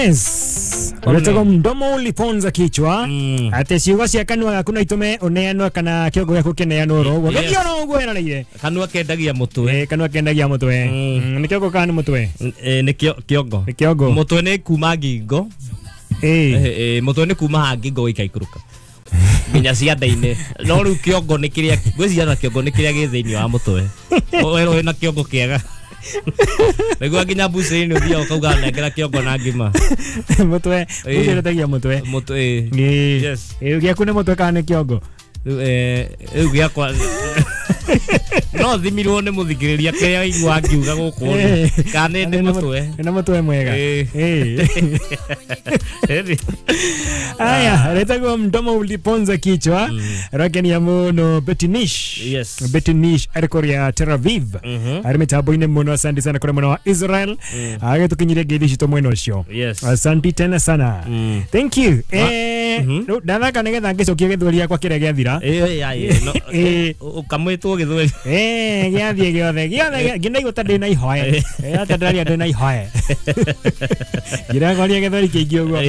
Yes. Uretagwo mdomo uliponza kichwa. Ate ciugo cia kanua gaku no itume uneanwo kana kiongo giaku kineanwo ro uguo. Githio ro uguo eroreire. Kanua kendagia mutwe. Kanua kendagia mutwe. Ni kiongo kana ni mutwe? Ni kiongo. Ni kiongo. Mutwe ni kuma ngingo. Mutwe ni kuma ha ngingo gikaikuruka. Nginya cianda-inĩ. No rĩu kiongo nĩ kĩrĩa ngwĩciria na kiongo nĩ kĩrĩa gĩ thĩinĩ wa mũtwe. Werwo wĩna kiongo kĩega. Nĩguo nginya mbucĩrĩ-inĩ ũthiaga ũkauga nengera kiongo na ngima. Mutwe, mbucĩrĩ mutwe. Mutwe. Yes. Gĩaku nĩ mutwe kana nĩ kiongo? Rĩu gĩakwa no thimirwo nĩ mũthikĩrĩria kĩrĩa waigua ngiuga gũkũ kana nĩ mũtwe. Nĩ mũtwe mwega. Aya, retagwo mdomo uliponza kichwa. Rakenia muno Betinish. Yes. Betinish ari kũrĩa Tel Aviv. Ari mĩtambo-inĩ mũno, asante sana kũrĩa mwena wa Israel. Agĩtũkinyirie ngeithi citũ mwena ũcio. Yes. Asante tena sana. Thank you. Ndathaka nĩgetha ngĩcokia gĩthweri gĩakwa kĩrĩa gĩathira. Ũkamwĩtwo gĩthweri. Gĩathiĩ gĩothe gĩothe ngĩnaigua ta ndĩna ihoe. Ata ndĩraria ndĩna ihoe. Ngĩragoria gĩthweri kĩingĩ ũguo.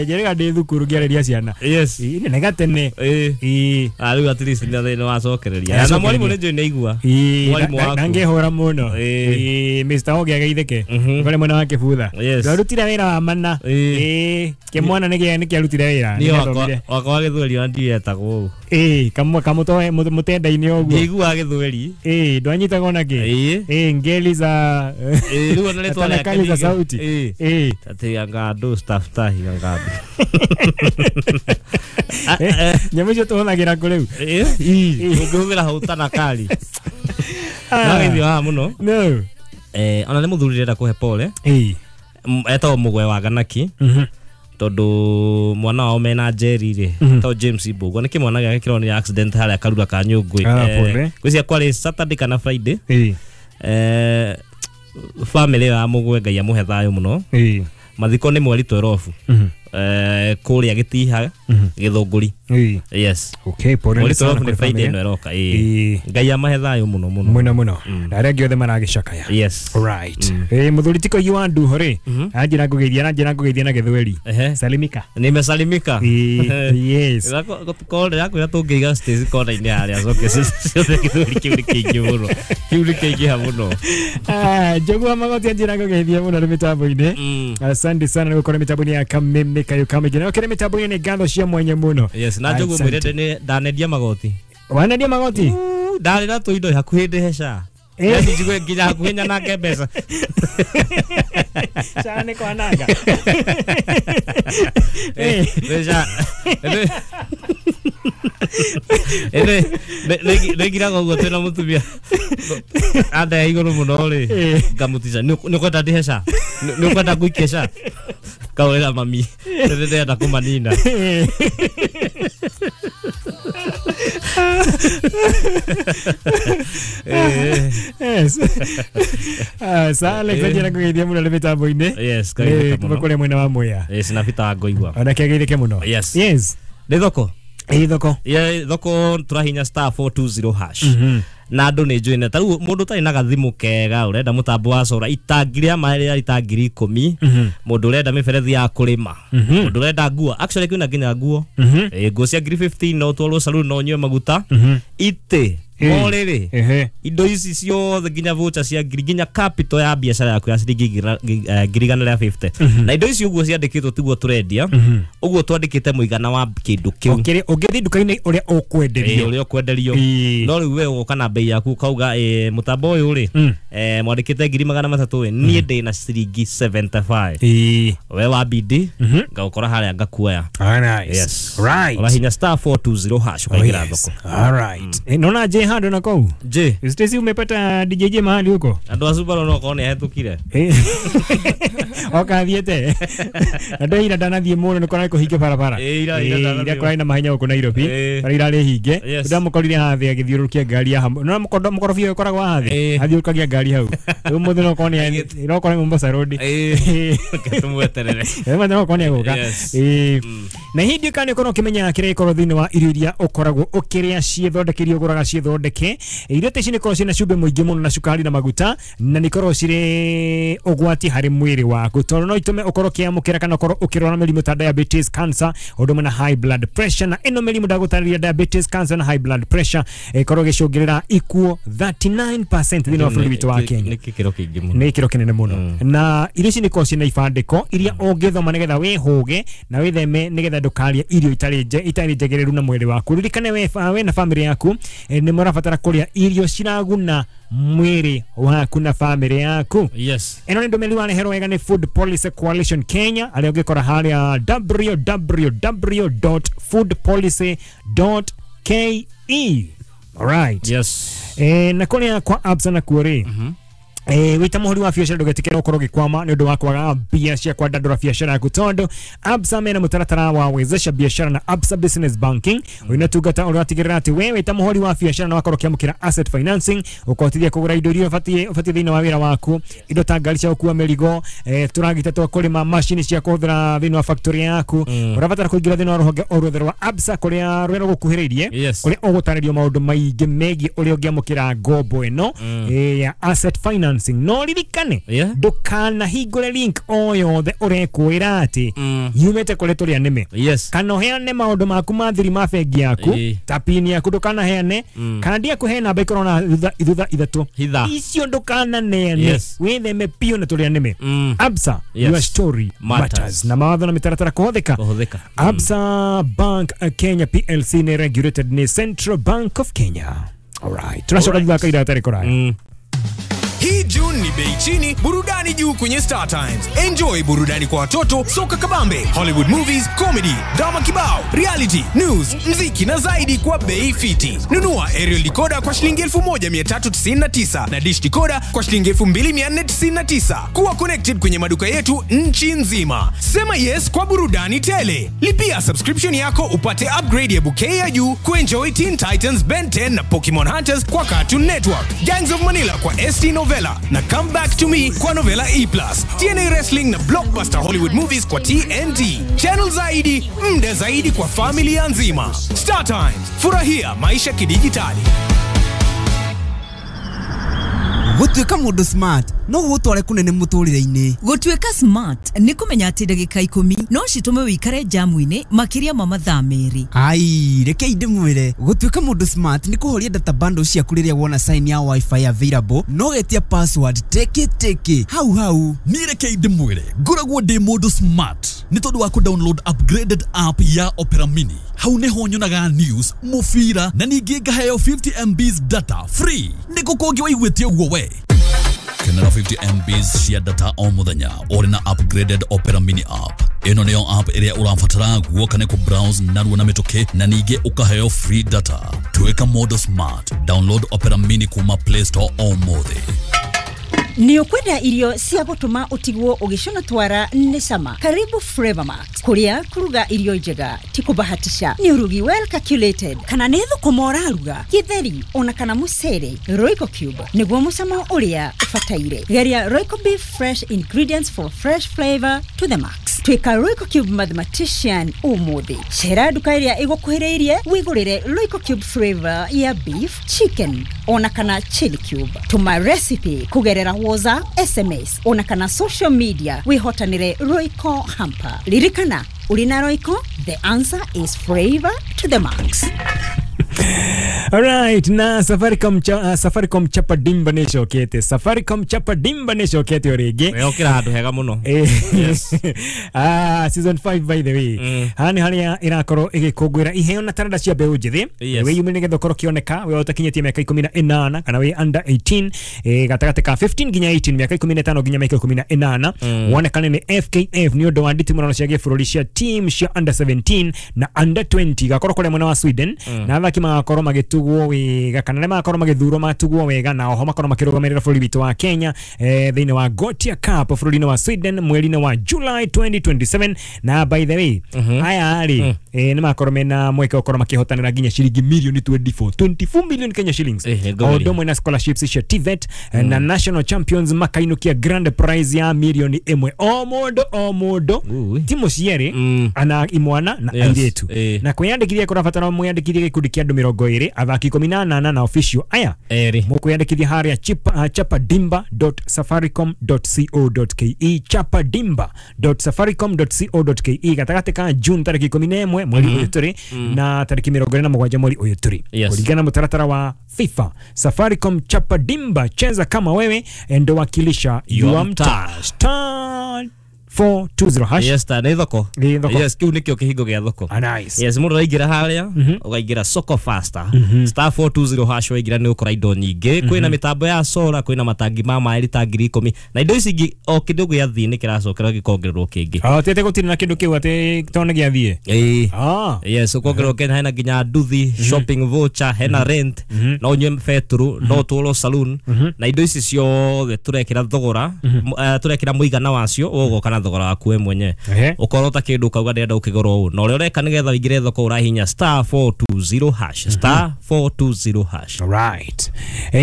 Njĩrĩga ndĩ thukuru ngĩarĩria ciana. Yes. Nĩ gatene. Rĩu at least nĩ wacokereria. Na mwarimũ nĩ njũĩ nĩ aigua. Mwarimũ waku. Na ngĩhũra mũno. Mr. Oge ageithĩke. Kũrĩa mwena wa Kĩbutha. Ndarutire wĩra wa mana. Kĩmwana nĩ kĩarutire wĩra. Niĩ wakwa wa gĩthweri ona ndiũĩ etagwo ũũ. Kamũtoe mũtenda-inĩ ũguo. Ndiaiguaga gĩthweri. Ndwanyitaga ona kĩ. Ngeli za rĩu ona rĩtwa rĩake za sauti. Atĩ anga staftahi anga nyamũ icio tũhũthagĩra kũ rĩu? Ũngĩhũthĩra hau tanakali. Ndageithio haha mũno. No. Ona nĩ mũthuri ndĩrenda kũhe pole. Etagwo Mũgwe wa Ganaki. Tondu mwana wao mena Jerry rĩ to James Mbugua nĩ kĩmwana gĩake kĩronire accident harĩa Karura ka Nyũngũ. Ngwĩciria kwarĩ Saturday kana Friday. Family ya Mũgwe Ngai amũhe thayũ mũno. Mathiko nĩ mweri 12 kũrĩa Gĩtiha Gĩthũngũri. Yes. Okay, pole mweri 12 nĩ Friday ĩno ĩroka. Ngai amahe thayũ mũno mũno mũno mũno. Na arĩa angĩ othe maragĩcakaya. Yes. Right. Mũthuri ti Koigi wa Nduho rĩ, anjĩra ngũgeithia na gĩthweri. Salimika. Nimesalimika. Yes. Kore yakwĩra tũngĩiga Stacy kona-inĩ harĩa acoke ciothe gĩthweri kĩu nĩ kĩingĩ mũno. Kĩu nĩ kĩingĩha mũno. Njogu wa Magoti anjĩra ngũgeithia mũno nĩ mĩtambo-inĩ. Asante sana nĩ gũkorwo mĩtambo-inĩ ya Kameme Kayo Kamĩingĩ. Na ũkĩrĩ mĩtambo-inĩ nĩ ngatho cia mwanya mũno. Yes, na Njogu mwĩre nĩ ndanendia magoti. Wanendia magoti? Ndarĩ na tũindo hakuhĩ ndĩhe SHA. Yaani njigue nginya hakuhĩ nyanange mbeca. SHA nĩ kwananga. Mbeca. Nĩngiraga ũguo twĩna mũtumia andae igũrũ mũno rĩ, ngamũtica nĩ ũkwenda ndĩhe SHA? Nĩ ũkwenda ngũikie SHA? Kawĩra mami ndĩrenda kũmanina. Yes. Sa Alex anjĩra ngũgeithia mũno nĩ mĩtambo-inĩ. Yes, kageithĩka Kuma mũno. kũrĩa mwena wa Mwea. Yes, na Peter wa Ngoigua. Onake ageithĩke mũno. Yes. Yes. Nĩ thoko. Thoko. Thoko tũrahinya star 420 hash. Na andũ nĩ njũĩ ta rĩu mũndũ ũtarĩ na gathimũ kega ũrenda mũtambo wa cora itangi rĩa maĩ rĩa rita 10,000, mũndũ ũrenda mĩberethi ya kũrĩma, mũndũ ũrenda nguo, actually kwĩna nginya nguo. Nguo cia 15,000 no ũtwarwo saloon no ũnyue maguta. Itĩ morĩrĩ indo ici ciothe nginya voucher cia ngiri nginya capital ya biacara yaku ya ciringi 150,000. Na indo ici ũguo ciandĩkĩtwo tiguo tũrendia, ũguo twandĩkĩte mũigana wa kĩndũ kĩu. Ũngĩthiĩ nduka-inĩ ũrĩa ũkwenderio. Ũrĩa ũkwenderio. No rĩu we ũgoka na bei yaku ũkauga mũtambo ũyũ rĩ, mwandĩkĩte 300,000 ĩ, niĩ ndĩna ciringi 75. We wa bidi ngagũkora harĩa ngakuoya. Yes. Right. Ũrahinya star 420 hash ũkaingĩra thoko. All right. Naona je hando na kou. Je. Stacy umepata DJ mahali huko? Andũ a Subaru no korwo nĩ ahetũkire. Oka thiete. Andũ ira ndanathiĩ mũno nĩ kũrarĩ kũhinge barabara. Ira ndanathiĩ. Ira kũrarĩ na mahenya gũkũ Nairobi. Bara irarĩ hinge. Ndamũkorire haha thĩ agĩthiũrũrũkia ngari ya hamwe. No mũkorobia ũyũ ũkoragwo haha thĩ. Athiũrũrũkagia ngari hau. Rĩu mũthĩ no korwo nĩ no korwo Mombasa Road. Reke tũmweterere. Mũthĩ no korwo nĩ egũka. Na hĩndĩ kana ũkorwo ũkĩmenya kĩrĩa gĩkoragwo thĩinĩ wa irio iria ũkoragwo ũkĩrĩa ciĩthondekeire ũgũraga ciĩthondekeire. thondeke. Irio ta ici nĩ ikoragwo ciĩna cumbĩ mũingĩ mũno na cukari na maguta, na nĩ ikoragwo cirĩ ũgwati harĩ mwĩrĩ waku, tondũ no itũme ũkorwo ũkĩamũkĩra kana ũkorwo ũkĩrwara mĩrimũ ta diabetes, cancer, ũndũ ũmwe na high blood pressure. Na ĩno mĩrimũ ndagũtarĩria, diabetes, cancer na high blood pressure, ĩkorwo ĩgĩcũngĩrĩra ikuũ 39% thĩinĩ wa bũrũri witũ wa Kenya. Nĩ gĩkĩro kĩingĩ mũno. Nĩ gĩkĩro kĩnene mũno. Na irio ici nĩ ikoragwo ciĩna ibandĩko iria ũngĩthoma nĩgetha wĩhũge na wĩtheme, nĩgetha ndũkarĩe irio itarĩ njagĩrĩru na mwĩrĩ waku. Ririkane we na famĩlĩ yaku nĩ mũrabatara kũrĩa irio ciraguna mwĩrĩ waku na famĩlĩ yaku. Yes. Ĩno nĩ ndũmĩrĩri wareherwo wega nĩ Food Policy Coalition Kenya, arĩa ũngĩkora harĩa www.foodpolicy.ke. Alright. Yes. Na kũrĩa kwa Absa nakuo rĩ, wĩta mũhũri wa biacara ndũgetĩkĩre ũkorwo ũgĩkwama nĩ ũndũ wa kwaga mbia cia kwandandũra biacara yaku, tondũ Absa mena mũtaratara wa wezesha biashara na Absa Business Banking. Ũyũ nĩ ũtungata ũratigĩrĩra atĩ we wĩta mũhũri wa biacara na wakorwo ũkĩamũkĩra asset financing, ũkahotithia kũgũra indo iria ũbatiĩ thĩinĩ wa wĩra waku, indo ta ngari cia gũkua mĩrigo, tũragita twa kũrĩma, macini cia kũhũthĩra thĩinĩ wa factory yaku. Ũrabatara kũingĩra thĩinĩ wa rũhonge o ruothe rwa Absa kũrĩa rũrĩa rũgũkuhĩrĩirie, Yes. kũrĩa ũgũtarĩrio maũndũ maingĩ megiĩ ũrĩa ũngĩamũkĩra ngombo ĩno ya asset financing. No ririkane, Yeah. ndũkanahingũre link o yothe ũrekwĩra atĩ yumĩte kũrĩ tũrĩa nĩme, Yes. kana ũheane maũndũ maku ma thiri ma bengi yaku, ta pin yaku ndũkanaheane, kana ndiaku he namba ikorwo na thutha ithatũ, Hitha. icio ndũkananeane. Yes. Wĩtheme biũ na tũrĩa nĩme. Absa, Yes. your story Matters. matters. Na mawatho na mĩtaratara kũhũthĩka. Kũhũthĩka. Absa Bank Kenya PLC nĩ regulated nĩ Central Bank of Kenya. Alright. Tũracoka thutha wa kahinda gatarĩ kũraya. Hii June ni bei chini, burudani juu kwenye Star Times. Enjoy burudani kwa watoto, soka kabambe, Hollywood movies, comedy, drama kibao, reality, news, mziki na zaidi kwa bei fiti. Nunua aerial decoder kwa shilingi 1399 na dish decoder kwa shilingi 2499. Kuwa connected kwenye maduka yetu nchi nzima. Sema yes kwa burudani tele. Lipia subscription yako upate upgrade ya bouquet ya juu kuenjoy Teen Titans, Ben 10 na Pokemon Hunters kwa Cartoon Network, Gangs of Manila kwa ST Novella na Come Back to Me kwa Novella E+, TNA Wrestling na Blockbuster Hollywood Movies kwa TNT. Channel zaidi, mda zaidi kwa familia nzima. Star Times, furahia maisha kidijitali. Gũtuĩka mũndũ smart no gũgũtware kũnene mũtũrĩre-inĩ. Gũtuĩka smart nĩ kũmenya atĩ ndagĩka 10 no citũme wĩikare jamu-inĩ makĩria ma mathaa 2. Ai, rekei ndĩmwĩre, gũtuĩka mũndũ smart nĩ kũhoria data bundle ciaku rĩrĩa wona sign ya wifi available, no getia password teke teke hau hau. Niĩ rekei ndĩmwĩre, ngoragwo ndĩ mũndũ smart nĩ tondũ wa kũ-download upgraded app ya Opera Mini. Hau nĩho nyonaga news, mũbira na ningĩ ngaheo 50 MBs data free. Nĩ kũ kũngĩ waiguĩte ũguo we? Kenera 50 MBs cia data o mũthenya ũrĩ na upgraded Opera Mini app. Ĩno nĩyo app ĩrĩa ũrabatara guoka nĩ kũ-browse narua na mĩtũkĩ na ningĩ ũkaheo free data. Tuĩka mũndũ smart. Download Opera Mini kuma Play Store ũmũthĩ. Nĩ ũkwenda irio cia gũtũma ũtigwo ũgĩcũna twara nĩ cama? Karibu Flavor Max, kũrĩa kũruga irio njega ti kũbahatisha, nĩ ũrugi well calculated. Kana nĩ thũkũma ũraruga, gĩtheri ona kana mũcere, Royco Cube nĩguo mũcamo ũrĩa ũbataire. Geria Royco Beef, fresh ingredients for fresh flavor to the max. Tuĩka Royco Cube mathematician ũmũthĩ. Cera nduka ĩrĩa ĩgũkuhĩrĩirie wĩgũrĩre Royco Cube flavor ya beef, chicken ona kana chili cube. Tũma recipe kũgerera WhatsApp, SMS ona kana social media wĩhotanĩre Royco hamper. Ririkana, ũrĩ na Royco, the answer is flavor to the max. Alright, na Safaricom Chapa Dimba nĩ ĩcokete. Safaricom Chapa Dimba nĩ ĩcokete o rĩngĩ. Wekĩra handũ hega mũno. Yes. Season 5, by the way. Haha nĩ harĩa ĩrakorwo ĩgĩkũngũĩra iheo na taranda cia mbeũ njĩthĩ. Yes. Wĩyumĩrie nĩgetha ũkorwo ũkĩoneka we ũtakinyĩtie mĩaka 18 kana wĩ under 18, gatagatĩ ka 15 nginya 18, mĩaka 15 nginya mĩaka 18, wonekane nĩ FKF nĩ ũndũ wa nditimũrano cia gĩbũrũri cia team cia under 17 na under 20 gakorwo kũrĩa mwena wa Sweden, na athaki magakorwo magĩtugwo wega kana arĩa magakorwo magĩthurwo matugwo wega, na oho makorwo makĩrũgamĩrĩra bũrũri witũ wa Kenya thĩinĩ wa Gothia Cup bũrũri-inĩ wa Sweden mweri-inĩ wa July 2027. Na by the way, aya rĩ, nĩ makorwo mena mweke wa gũkorwo makĩhotanĩra nginya ciringi mirioni 24, 24 million Kenya shillings, Nĩ o ũndũ ũmwe na scholarships cia TVET, na national champions makainũkia grand prize ya mirioni 1 o mũndũ o mũndũ. Ui. Timu cierĩ, ana imwana na Yes, airĩtu. Na kwĩyandĩkithia kũrabatara mwĩyandĩkithie gĩkundi kĩa andũ 20 athaki 18 na official aya mukwiyandikithia haria chapadimba.safaricom.co.ke chapadimba.safaricom.co.ke gatagatĩ ka June tarĩki 11 mweri ũyũ tũrĩ na tarĩki 27 mweri ũyũ tũrĩ kũringana na mũtaratara wa FIFA. Safaricom Chapadimba, cheza kama wewe ndo wakilisha your mtaa. Star 420 hash. Yes, ta nĩ thoko. Yes, kiu nikio kihingo gĩa thoko. Nice. Yes, mũndũ araingĩra harĩa ũkaingĩra soko faster. Star 420 hash waingĩra nĩ ũkora indo nyingĩ. Kwĩna mĩtambo ya solar, kwĩna matangi ma maĩ rita 10,000 na indo ici ingĩ o kĩndũ gĩathiĩ nĩ kĩracokera gĩkongererwo kĩngĩ. Ah, tete gũtirĩ na kĩndũ kĩu atĩ tondũ nĩ gĩathiĩ. Ĩĩ. Yes, ũkongererwo kĩndũ hena nginya nduthi, shopping voucher, hena rent, no ũnyue betũrũ, no ũtwarwo saloon na indo ici ciothe tũrekĩra thogora, tũrekĩra mũigana wacio ũgũgoka na thogora waku we mwenyewe. Ukorwo ta kindu ukauga ndĩrenda ũkĩgũra ũũ na ũrĩa ũreka nĩgetha ũingĩre thoko ũrahihinya star 420 hash star 420 hash. Right.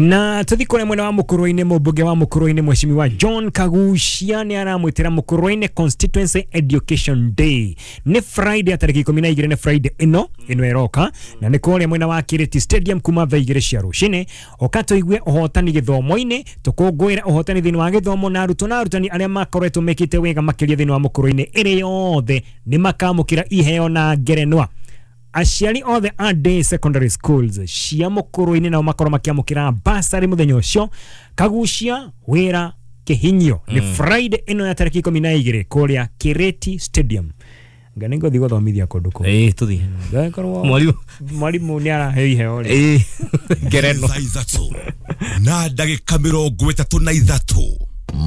Na tuthi kũrĩa mwena wa Mũkũrwe-inĩ, mũmbunge wa Mũkũrwe-inĩ Mheshimiwa John Kagucia nĩ aramwĩtĩra Mũkũrwe-inĩ Constituency Education Day. Nĩ Friday tarĩki 12 nĩ Friday ĩno ĩroka na nĩ kũrĩa mwena wa Kiriti Stadium kuma thaa 2 cia rũcinĩ. Ũka tũigue ũhotani gĩthomo-inĩ, tũkũngũĩre ũhotani thĩinĩ wa gĩthomo na arutwo na arutani arĩa makoretwo mekĩte wega makĩria thĩinĩ wa Mũkũrwe-inĩ ĩrĩ yothe nĩ makamũkĩra iheo na ngerenwa. Aciari othe a day secondary schools cia Mũkũrwe-inĩ nao makorwo makĩamũkĩra basarĩ mũthenya ũcio. Kagucia wĩra kĩhinyio nĩ Friday ĩno ya tarĩki 12 kũrĩa Kiriti Stadium. Nga nĩ ngũthiĩ gũthomithia kũndũ kũu. Ĩĩ tũthiĩ. Ngakorwo mwarimũ nĩ araheo iheo rĩ. Ĩĩ ngerenwa. Thaa ithatũ na ndagĩka 33.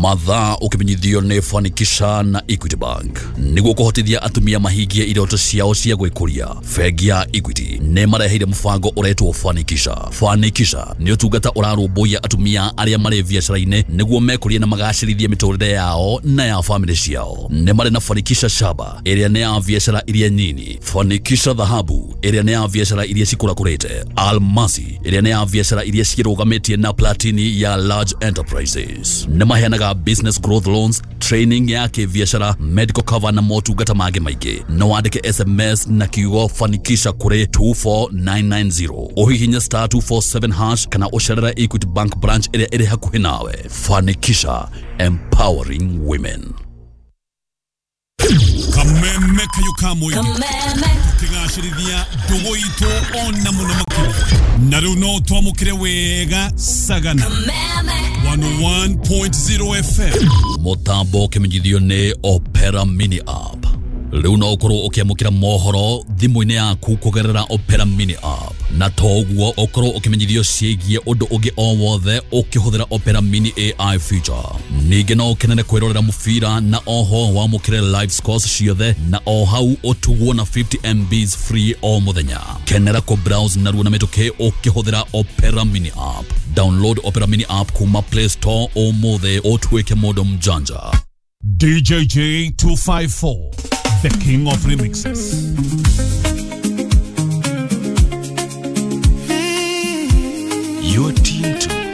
Mathaa ukimenyithio nĩ Fanikisha na Equity Bank nĩguo kũhotithia atumia mahingie iroto ciao cia gwĩkũria. Bengi ya Equity nĩ mareheire mũbango ũretwo Fanikisha. Fanikisha nĩ ũtungata ũrarũmbũiya atumia arĩa marĩ biacara-inĩ nĩguo mekũrie na magacĩrithie mĩtũrĩre yao na ya famĩlĩ ciao. Nĩ marĩ na Fanikisha Shaba ĩrĩa nĩ ya biacara iria nyini, Fanikisha Dhahabu ĩrĩa nĩ ya biacara iria cikũrakũrĩte, Almasi ĩrĩa nĩ ya biacara iria cirũgamĩtie na Platini ya large enterprises. Nĩ maheanaga business growth loans, training ya kĩbiacara, medical cover na motungata mangĩ maingĩ. No wandĩke SMS na kiugo Fanikisha kũrĩ 24990, ũhihinye star 247 hash kana ũcerere Equity Bank branch ĩrĩa ĩrĩ hakuhĩ nawe. Fanikisha, empowering women. Kameme kayo kamwe tukigacĩrithia ndũgũ itũ ona mũno makĩria na rĩu no twamũkĩre wega Sagana 101.0 FM. Mũtambo ũkĩmenyithio nĩ Opera Mini App. Rĩu no ũkorwo ũkĩamũkĩra mohoro thimũ-inĩ yaku kũgerera Opera Mini App, na toguo ũkorwo ũkĩmenyithio ciĩgiĩ ũndũ ũngĩ o wothe ũkĩhũthĩra Opera Mini AI feature. Ningĩ no ũkenere kwĩrorera mũbira na oho wamũkĩre live scores ciothe na o hau ũtugwo na 50 MBs free o mũthenya. Kenera kũ browse narua na mĩtũkĩ ũkĩhũthĩra Opera Mini App. Download Opera Mini App kuma Play Store ũmũthĩ ũtuĩke mũndũ mjanja. DJJ 254, the king of remixes.